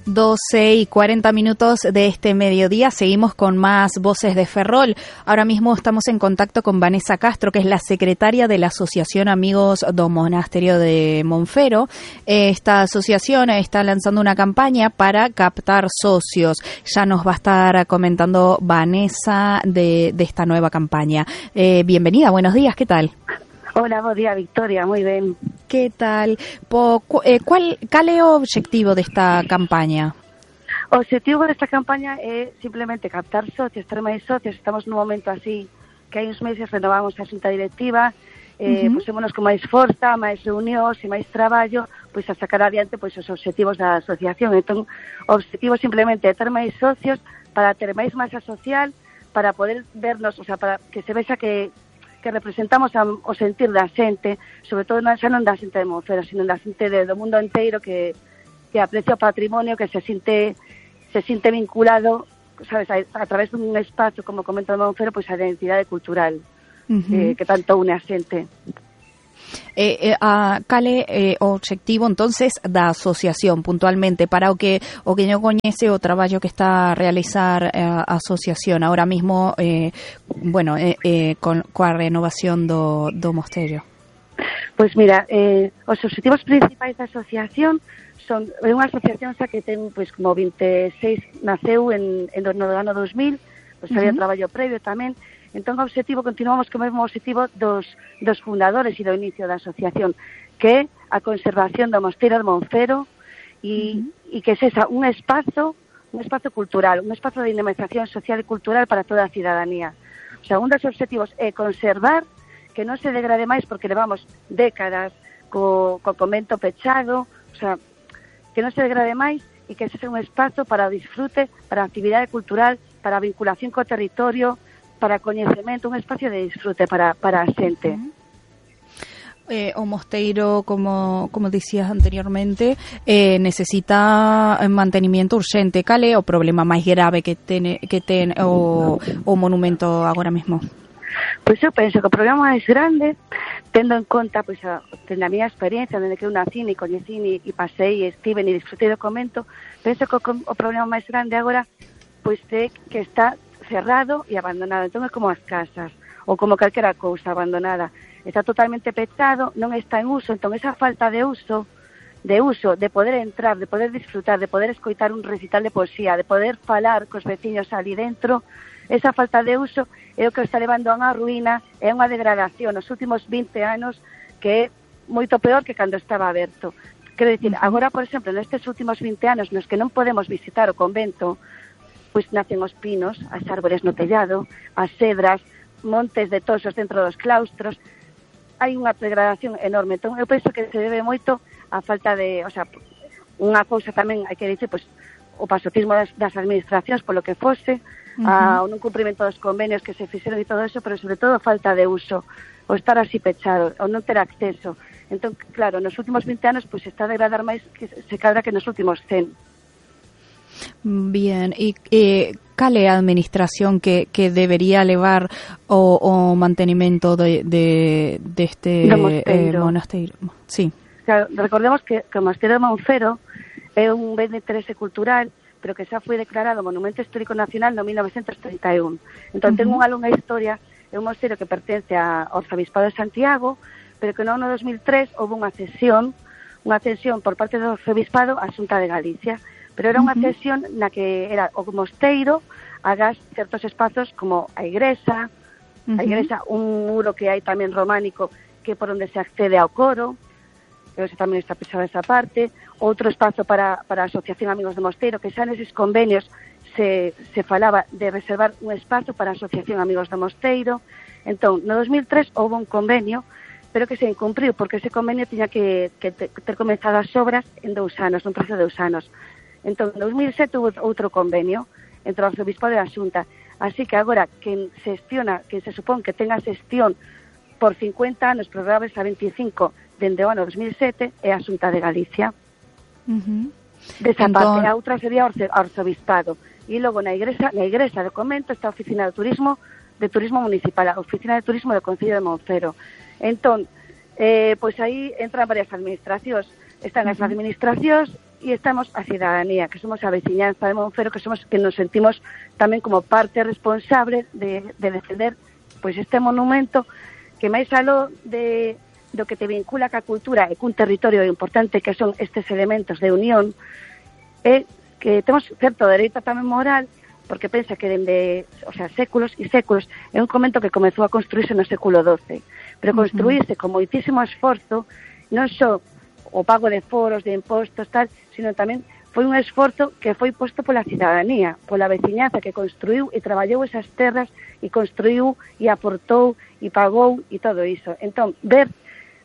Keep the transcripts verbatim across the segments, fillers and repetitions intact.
doce y cuarenta minutos de este mediodía. Seguimos con más Voces de Ferrol. Ahora mismo estamos en contacto con Vanessa Castro, que es la secretaria de la Asociación Amigos do Monasterio de Monfero. Esta asociación está lanzando una campaña para captar socios. Ya nos va a estar comentando Vanessa de, de esta nueva campaña. Eh, bienvenida, buenos días, ¿qué tal? Hola, buen día, Victoria, muy ben. Que tal? Po, eh, cual, cal é o obxectivo desta campaña? O obxectivo desta campaña é simplemente captar socios, ter máis socios. Estamos nun momento así que hai uns meses renovamos a xunta directiva, eh, uh-huh. pusémonos con máis forza, máis reunións e máis traballo, pois a sacar adiante pois os obxectivos da asociación. Entón, o obxectivo simplemente é ter máis socios para ter máis masa social, para poder vernos, o sea, para que se vexa que que representamos a, o sentir da xente, sobre todo non, xa non da xente de Monfero, sino da xente de, do mundo inteiro que, que aprecia o patrimonio, que se sinte se sinte vinculado, sabes, a, a través dun espazo, como comento de Monfero, pois a identidade cultural, uh-huh. eh, que tanto une a xente. Eh, eh, a, cale eh, o obxectivo entonces da asociación puntualmente para o que o que non coñece o traballo que está a realizar eh, a asociación ahora mismo eh, bueno, eh, eh, con coa renovación do, do mosteiro. Pois mira, eh, os obxectivos principais da asociación son é unha asociación xa que ten pois como vinte e seis, naceu en, en no ano dos mil, pois había uh-huh. traballo previo tamén. Entón, o obxectivo, continuamos co mesmo obxectivo dos, dos fundadores e do inicio da asociación, que é a conservación do mosteiro de Monfero e, uh-huh. e que sexa un espazo, un espazo cultural, un espazo de dinamización social e cultural para toda a cidadanía. O sea, un dos obxectivos é conservar, que non se degrade máis, porque levamos décadas co, co convento pechado, o sea, que non se degrade máis e que sexa un espazo para o disfrute, para a actividade cultural, para a vinculación co territorio, para coñecemento, un espacio de disfrute para, para a xente. Eh, o mosteiro, como como dicías anteriormente, eh, necesita mantenimiento urxente. Cal é o problema máis grave que ten, que ten o, o monumento agora mesmo? Pois eu penso que o problema máis grande, tendo en conta pois, a, a miña experiencia, dende que eu nacín e coñecín e, e pasei e estive e disfrutei do convento, penso que o, o problema máis grande agora pois é que está cerrado e abandonado. Entón é como as casas ou como calquera cousa abandonada, está totalmente pechado, non está en uso. Entón esa falta de uso de uso, de poder entrar, de poder disfrutar, de poder escoitar un recital de poesía, de poder falar cos veciños ali dentro, esa falta de uso é o que está levando a unha ruína, é unha degradación nos últimos vinte anos que é moito peor que cando estaba aberto. Quero dicir, agora, por exemplo, nestes últimos vinte anos nos que non podemos visitar o convento, pois nacen os pinos, as árbores no tellado, as cedras, montes de toxos dentro dos claustros. Hai unha degradación enorme. Entón, eu penso que se debe moito a falta de, o sea, unha cousa tamén, hai que dicir, pois, o pasotismo das, das administracións polo que fose, uh-huh. a, o non cumprimento dos convenios que se fixeron e todo eso, pero sobre todo a falta de uso, o estar así pechado, o non ter acceso. Entón, claro, nos últimos vinte anos, pois, está a degradar máis que se cadra que nos últimos cen. Bien, e eh, cal é a administración que, que debería levar o, o mantenimento de, de, de este eh, monasteiro? Sí. Claro, recordemos que, que o monasteiro de Monfero é un ben de interese cultural, pero que xa foi declarado Monumento Histórico Nacional no mil novecentos treinta e un. Entón, uh-huh. ten unha longa historia, é un monasteiro que pertence ao Arzobispado de Santiago, pero que no ano dos mil tres houve unha cesión, unha cesión por parte do Arzobispado á Xunta de Galicia. Pero era unha cesión na que era o mosteiro hagas certos espazos como a igrexa, uh-huh. a igrexa, un muro que hai tamén románico que por onde se accede ao coro, que tamén está pechada esa parte, outro espazo para, para a Asociación Amigos do Mosteiro, que xa neses convenios se, se falaba de reservar un espazo para a Asociación Amigos do Mosteiro. Entón, no dos mil tres houve un convenio, pero que se incumpriu, porque ese convenio tiña que, que ter comenzado as obras en dous anos, nun prazo de dous anos. Entón, en dos mil sete houve outro convenio entre o Arzobispado e a Xunta. Así que agora, quen xestiona, quen se supón que tenga xestión por cincuenta anos, prorrogables a veinticinco, dende o ano dos mil sete, é a Xunta de Galicia. Uh-huh. Desa entón... parte, a outra sería o Arzobispado. E logo na igrexa, na igrexa do convento está a Oficina de Turismo de Turismo Municipal, a Oficina de Turismo do Concello de Monfero. Entón, eh, pois aí entran varias administracións. Están as administracións e estamos a cidadanía, que somos a veciñanza de Monfero, que somos que nos sentimos tamén como parte responsable de, de defender pois este monumento que máis aló de do que te vincula ca cultura e cun territorio importante que son estes elementos de unión, é que temos certo dereito tamén moral, porque pensa que dende, o sea, séculos e séculos, é un convento que comezou a construirse no século doce, pero construirse con moitísimo esforzo, non só o pago de foros, de impostos, tal, sino tamén foi un esforzo que foi posto pola cidadanía, pola veciñanza que construiu e traballou esas terras e construiu e aportou e pagou e todo iso. Entón, ver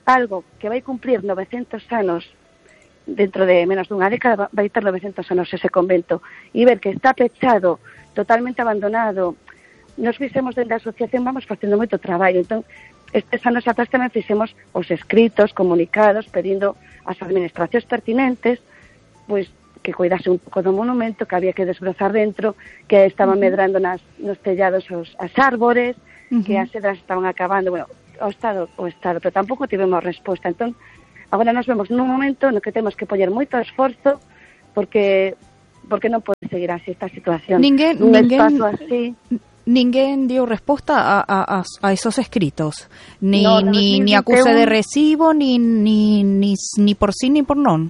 algo que vai cumplir novecentos anos, dentro de menos dunha década vai ter novecentos anos ese convento, e ver que está pechado, totalmente abandonado. Nos fixemos dentro da asociación, vamos facendo moito traballo, entón, estes anos atrás tamén fixemos os escritos, comunicados, pedindo ás administracións pertinentes, pois, que cuidase un pouco do monumento, que había que desbrozar dentro, que estaban uh-huh. medrando nas, nos tellados os, as árbores, uh-huh. que as cedras estaban acabando, bueno, o Estado, o Estado, pero tampouco tivemos resposta. Entón, agora nos vemos nun momento no que temos que poñer moito esforzo porque porque non pode seguir así esta situación. Ninguén, un ninguén, espazo así. Ninguén dio resposta a, a, a esos escritos, ni no, no, ni, ni acuse de recibo, ni, ni, ni, ni por sí ni por non.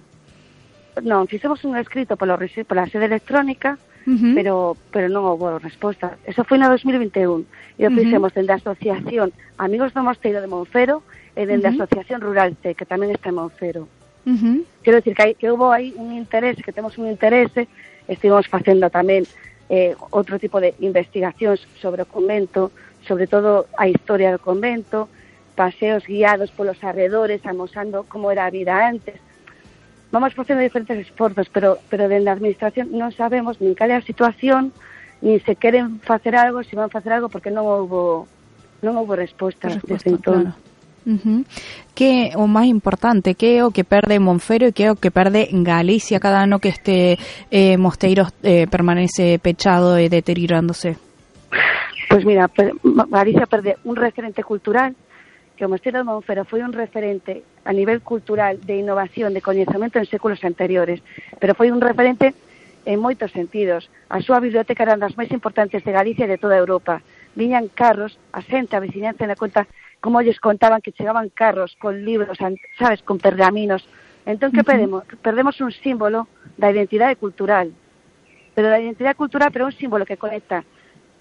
Non, fixemos un escrito polo, pola sede electrónica, uh-huh. pero pero non houve resposta. Eso foi no dos mil vinte e un. E o fixemos uh-huh. dende a Asociación Amigos do Mosteiro de Monfero e dende uh-huh. a Asociación Rural C, que tamén está en Monfero. Uh-huh. Quero dicir que, hai, que houve aí un interese, que temos un interese, estivemos facendo tamén eh, outro tipo de investigacións sobre o convento, sobre todo a historia do convento, paseos guiados polos arredores, amosando como era a vida antes. Vamos facendo diferentes esforzos, pero pero dende a administración non sabemos nin cal é a situación, nin se queren facer algo, se van facer algo, porque non houbo non houbo resposta, resposta desde entón. Claro. Uh-huh. Que o máis importante, que é o que perde Monfero e que é o que perde Galicia cada ano que este eh, mosteiro eh, permanece pechado e deteriorándose? Pois mira, per, Galicia perde un referente cultural, que o Mosteiro de Monfero foi un referente a nivel cultural de innovación, de coñecemento en séculos anteriores, pero foi un referente en moitos sentidos. A súa biblioteca era das máis importantes de Galicia e de toda Europa. Viñan carros, a xente, a veciñanza na conta, como lles contaban que chegaban carros con libros, sabes, con pergaminos. Entón, que uh-huh. perdemos? Perdemos un símbolo da identidade cultural. Pero da identidade cultural, pero un símbolo que conecta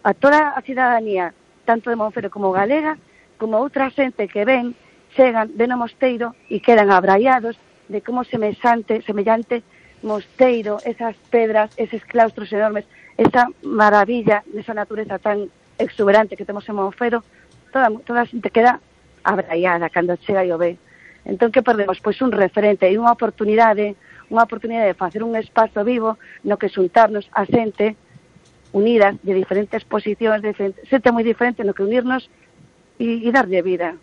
a toda a cidadanía, tanto de Monfero como galega, como outra xente que ven, chegan, ven o mosteiro e quedan abraiados de como semexante, semellante mosteiro, esas pedras, eses claustros enormes, esa maravilla desa natureza tan exuberante que temos en Monfero, toda, toda a xente queda abraiada cando chega e o ve. Entón, que perdemos? Pois un referente e unha oportunidade, unha oportunidade de facer un espazo vivo no que xuntarnos a xente unidas de diferentes posicións, de diferentes, xente moi diferente no que unirnos e, e darlle vida.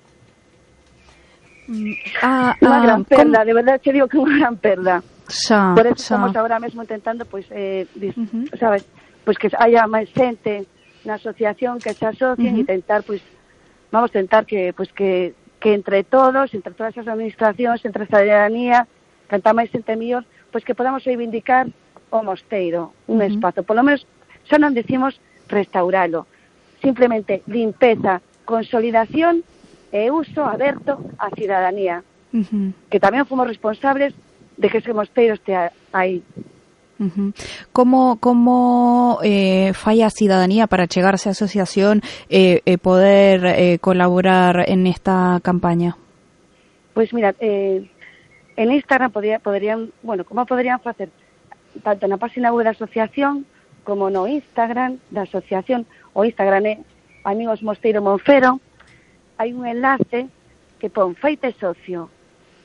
Ah, unha ah, gran perda, ¿cómo? De verdade che digo que unha gran perda. Xa, Por eso xa. estamos agora mesmo intentando, pois, eh, dis, Uh-huh. sabes, pois que haya máis xente na asociación que se asocien e Uh-huh. tentar, pois, vamos a tentar que, pois, que, que entre todos, entre todas as administracións, entre a cidadanía, cantar máis xente mellor, pois que podamos reivindicar o mosteiro, un Uh-huh. espazo. Por lo menos, xa non decimos restauralo, simplemente limpeza, consolidación e uso aberto á cidadanía, Uh-huh. que tamén fomos responsables de que ese mosteiro estea aí. Uh-huh. Como como eh, fai a cidadanía para chegarse á asociación e eh, eh, poder eh, colaborar en esta campaña? Pois mira, eh, en Instagram podría, podrían, bueno, como podrían facer tanto na página web da asociación como no Instagram da asociación. O Instagram é Amigos Mosteiro Monfero. Hai un enlace que pon feite socio.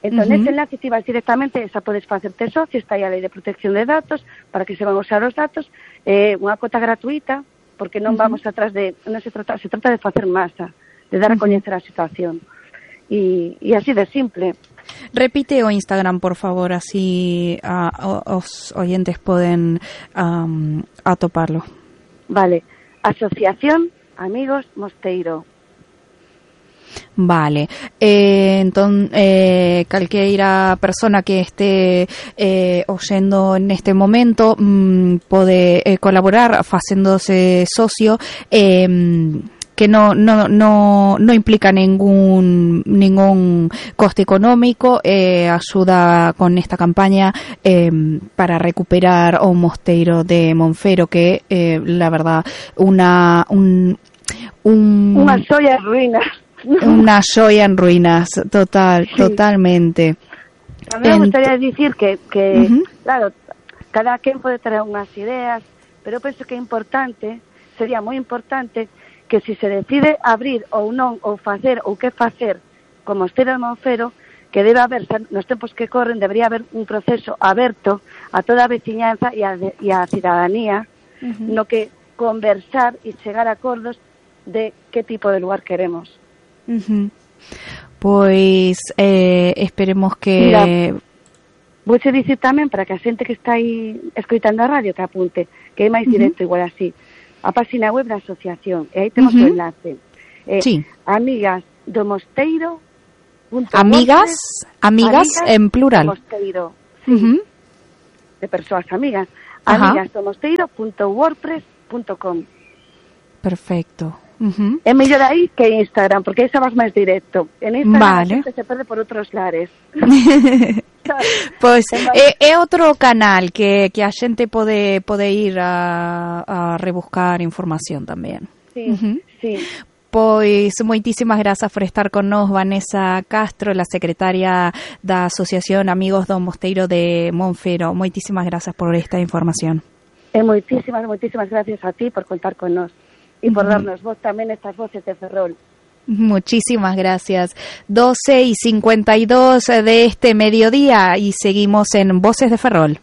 Entón, uh-huh. ese enlace ti vas directamente, esa podes facerte socio, está aí a lei de protección de datos, para que se van usar os datos, eh, unha cota gratuita, porque non uh-huh. vamos atrás de, non se trata, se trata de facer masa, de dar a coñecer a situación. E, e así de simple. Repite o Instagram, por favor, así a, a, os oyentes poden um, atoparlo. Vale, Asociación Amigos Mosteiro. Vale, eh, entón, eh, calqueira persona que este eh, oyendo en este momento mm, pode eh, colaborar facéndose socio, eh, que no no no no implica ningún ningún coste económico, eh, ayuda con esta campaña eh, para recuperar o mosteiro de Monfero, que eh, la verdad una un, un unha xoia en ruínas. Una joya en ruinas, total, sí. Totalmente. A mí me gustaría dicir que, que uh-huh. claro, cada quen pode ter unhas ideas, pero penso que é importante, sería moi importante, que se se decide abrir ou non, ou facer, ou que facer con Mosteiro de Monfero, que debe haber, nos tempos que corren, debería haber un proceso aberto a toda a veciñanza e a, e a cidadanía, uh-huh. no que conversar e chegar a acordos de que tipo de lugar queremos. Uh-huh. Pois eh, esperemos que... Mira, vou che dicir tamén, para que a xente que está aí escoitando a radio que apunte, que é máis directo, uh-huh. igual así, a página web da asociación, e aí temos uh-huh. o enlace. Eh, sí. Amigas do Mosteiro. Amigas, amigas, amigas en plural. Do Mosteiro, sí. Uh-huh. De persoas amigas. Uh-huh. amigas do mosteiro punto wordpress punto com. Perfecto. Uh-huh. É mellor aí que Instagram, porque aí xa vas máis directo. En Instagram vale. A xente se perde por outros lares. Pois é, é outro canal que, que a xente pode, pode ir a, a rebuscar información tamén. Sí, uh-huh. sí. Pois moitísimas grazas por estar con nós, Vanessa Castro, la secretaria da Asociación Amigos do Mosteiro de Monfero. Moitísimas grazas por esta información. E moitísimas, moitísimas gracias a ti por contar con nós e por uh-huh. darnos vos tamén estas voces de Ferrol. Muchísimas gracias. doce y cincuenta y dos de este mediodía y seguimos en Voces de Ferrol.